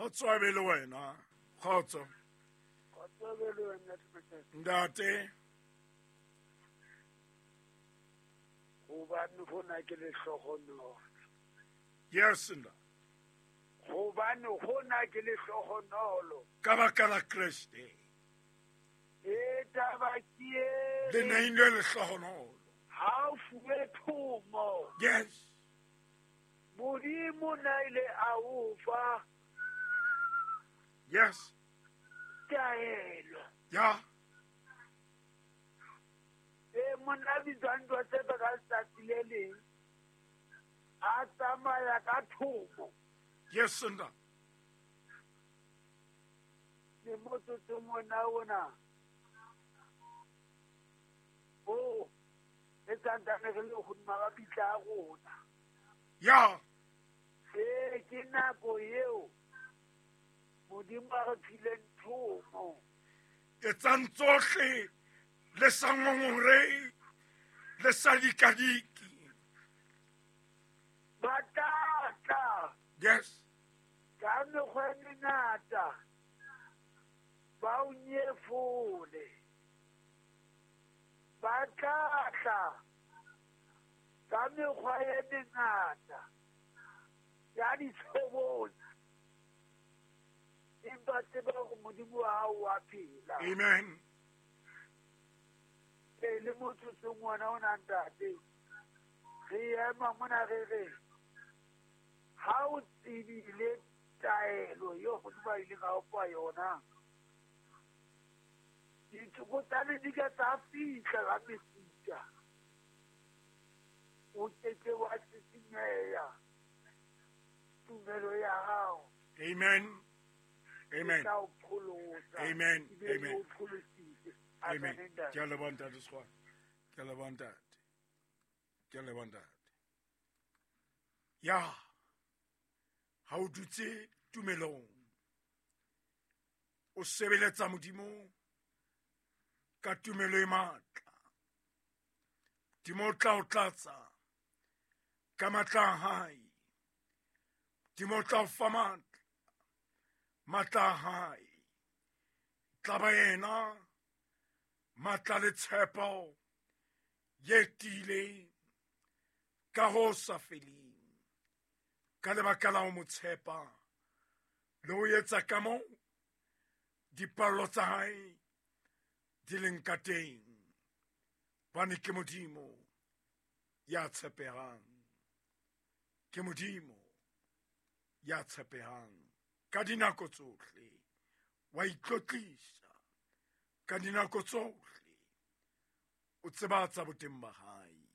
Kgotso a be le wena. Kgotso. Kgotso a be le wena, Ntate. Gobane gona ke lehlogonolo. Yes, nna. Gobane gona ke lehlogonolo. Ka baka la Kreste. E taba ke e. Le neilwe lehlogonolo. Ha o fuwe thomo. Yes. Modimo na ile a o fa. Yes. Taelo. Ya. E monna a bitswang Josefa ka letsatsi le leng a tsamaya ka thomo. Yes, nna. Le motsotsong ona ona o re santsane re le hodima mabitla a rona. Ya. Ee, ke nako eo Modimo a re phileng thomo. Etsang tsohle le sa ngongorehe, le sa dikadike. Ba tla tla. Yes. Ka mekgwa e mengata ba o nyefole. Ba tla tla ka mekgwa e mengata ya ditshobotsi. Empa tseba hore Modimo wa hao wa phela. Amen. E le motsotsong wona ona ntate, re ema mona re re ha o tsebile taelo eo Modimo a ileng a o fa yona, ditsokotsane di ka tsa fihla ka mefuta, o ke ke wa sisinyeha tumelo ya hao. Amen. Amen. E tla o pholosa. Amen. Ebile Amen. e o pholositse. Amen. Amen, ntate. Ke a leboha ntate Sekgwana. Ke a leboha ntate. Ke a leboha ntate. Ya. Ha o dutse tumelong. O sebeletsa Modimo ka tumelo e matla. Modimo o tla o tlatsa ka matla a hae. Modimo o tla o fa matla, matla a hae. Tla ba yena matla le tshepo ye tiileng ka ho sa feleng. Ka lebaka la ho mo tshepa le ho etsa ka moo dipallo tsa hae di leng ka teng. Hobane ke Modimo ya tshepehang. Ke Modimo ya tshepehang ka dinako tsohle. Wa itlotlisa ka dinako tsohle. O tsebatsa boteng ba hae.